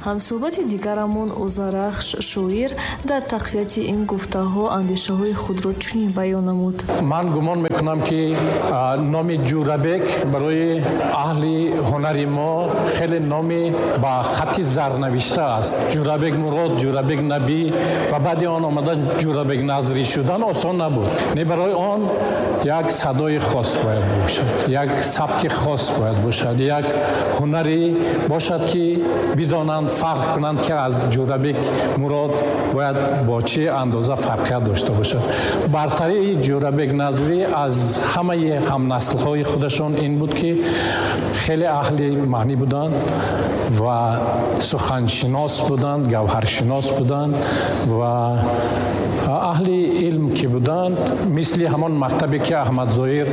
Ҳамсӯҳбати дигарамон Озарахш шоир дар тақвияти ин гуфтаҳо андешаҳои худро чунин баён намуд. Ман гумон мекунам, ки номи Ҷӯрабек барои аҳли ҳунари мо хеле номи ба хатти зар навишта аст. Ҷӯрабек Мурод, Ҷӯрабек Набӣ ва баъди он омадан Ҷӯрабек Назрӣ шудан осон набуд. Не, барои он як садои хос бояд бошад, як сабки хос бояд бошад, як ҳунаре бошад, ки бидонанд, фарқ кунанд, ки аз Ҷӯрабек Мурод бояд бо чӣ андоза фарқият дошта бошад. Бартарии Ҷӯрабек Назрӣ аз ҳамаи ҳамнаслҳои худашон ин буд, ки хеле аҳли маънӣ буданд ва суханшинос буданд, гавҳаршинос буданд ва аҳли илм ки буданд, мисли ҳамон мактабе, ки Аҳмад Зоҳир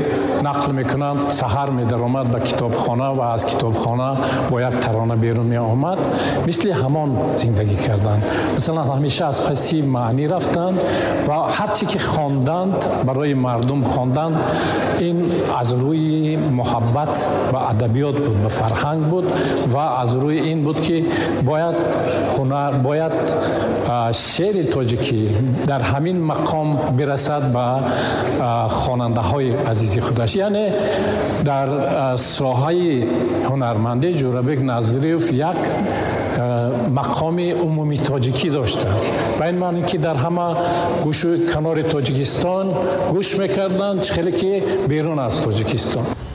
нақл мекунанд, саҳар медаромад ба китобхона ва аз китобхона бо як тарона берун меомад, мисли ҳамон зиндагӣ карданд. Масалан, ҳамеша аз паси маънӣ рафтанд ва ҳар чӣ ки хонданд, барои мардум хонданд. Ин аз рӯи муҳаббат ба адабиёт буд, ба фарҳанг буд ва аз рӯи ин буд, ки бояд ҳунар, бояд шеъри тоҷикӣ дар ҳамин мақом бирасад ба хонандаҳои азизи худаш. Яъне дар соҳаи ҳунармандӣ Ҷӯрабек Назриев як мақоми умумии тоҷикӣ доштанд, ба ин маъне, ки дар ҳама гӯшу канори Тоҷикистон гӯш мекарданд, чӣ хеле ки берун аз Тоҷикистон.